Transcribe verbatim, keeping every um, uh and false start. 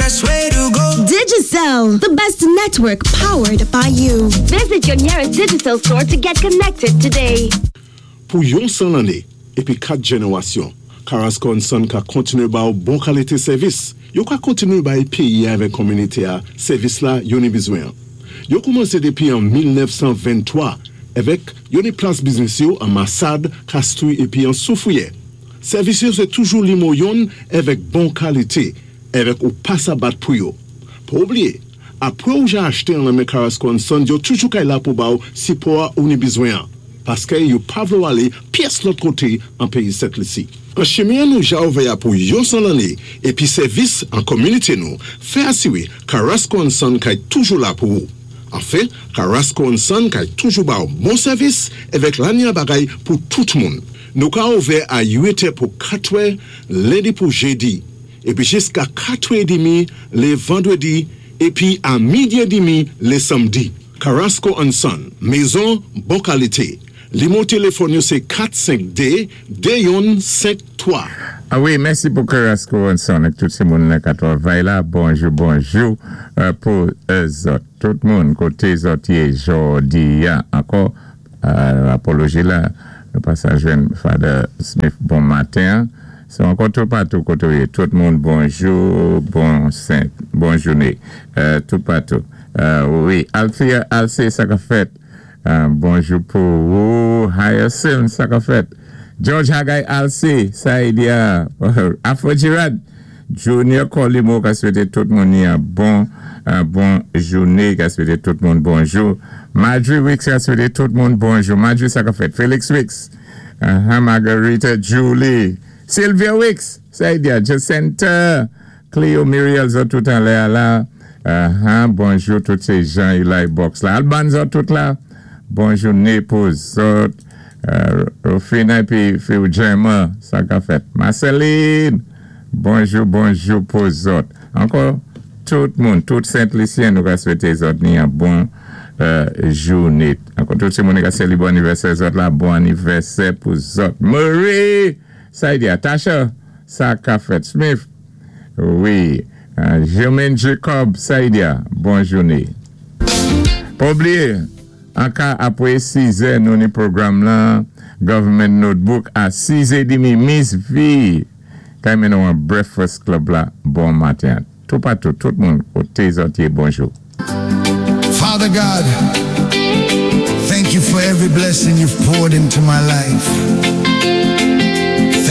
best way to go. Digicel, the best network powered by you. Visit your nearest Digicel store to get connected today. Pou yon san lanné épi kat jénéwasyon, Carrasco and Son ka kontiné ba ou bon kalité sèvis. Yo ka kontiné bay péyi avèk kominité-a sèvis la yo ni bizwen. Yo koumansé dépi an mil nèf san venntwa avèk yo ni plas biznis yo an Massade, Castries épi an Soufrière. Sèvis yo sé toujou nimo youn avèk bon kalité, avèk ou pa sa bat pou yo. Pa oubliyé, apwé ou ja achté an nan men Carrasco and Son, yo toujou kay la pou ba ou sipò ou ni bizwen an. Paské yo pa vlé ou alé pyès lòt koté an péyi Sent Lisi. An chimen nou ja ouvè a pou yon san lanné épi sèvis an kominité nou, fè asiwé Carrasco and Son kay toujou la pou ou. Anfen, Carrasco and Son kay toujou ba ou bon sèvis avèk lanya bagay pou tout moun. Nou ka ouvè a uit è pou katwè, lendi pou jédi, épi jiska katwè édmi lé vandwédi, épi a midi édmi lé sanmdi. Carrasco and Son, mézon bon kalité. Nimo téléfòn yo sé kat senk dé de youn senk twa. A wi, mèsi pou Carrasco and Son ak tout sé moun la ka twavay la. Bonjou, bonjou euh, pou euh, zòt. Tout moun koté zòt yé jòdi-a. Ankò, euh, apoloji la, nou pa sa jwenn Father Smith bon maten. Se ankò tout patou koté yé. Tout moun bonjou, bon sent, bon jouné. Euh, tout patou. Euh, wi, Althea, Alcé, sa ka fèt. Euh, bonjou pou ou, Hyacinth, sa ka fèt. George Hagay Alcé, sa y dia. Afro Girard, Junior Colimo, ka swété tout moun ni yon bon, un bon jouné, ka swété tout moun bonjou. Marjorie Wicks, ka swété tout moun bonjou. Marjorie, sa ka fèt. Felix Wicks, uh, Margarita Julie, Sylvia Wicks, sa y dia. Jacinta, Cleo Muriel, zòt tout anlè a la. Uh, bonjou tout sé jan Eli Box la. Alban, zòt tout la. Bon jouné pou zòt. Euh, Rufina épi Phil Gemma, sa ka fèt. Marceline, bonjou, bonjou pou zòt. Ankò, tout moun, tout Sent-Lisyen nou ka swété zòt ni yon bon euh, jouné. Ankò, tout sé moun ka sélébré anivèsè zòt la, bon anivèsè pou zòt. Marie, sa y dia. Tasha, sa ka fèt. Smith, wi. Euh, Jermaine Jacob, sa y dia. Bon jouné. Pa oubliyé, an ka apwé sis è, nou ni pwogram la, Government Notebook, a sis è dmi, Miss V, kay mennen nou an Breakfast Club la, bon maten. Tout patou, tout moun, koté zòt yé, bonjou. Father God, thank you for every blessing you've poured into my life.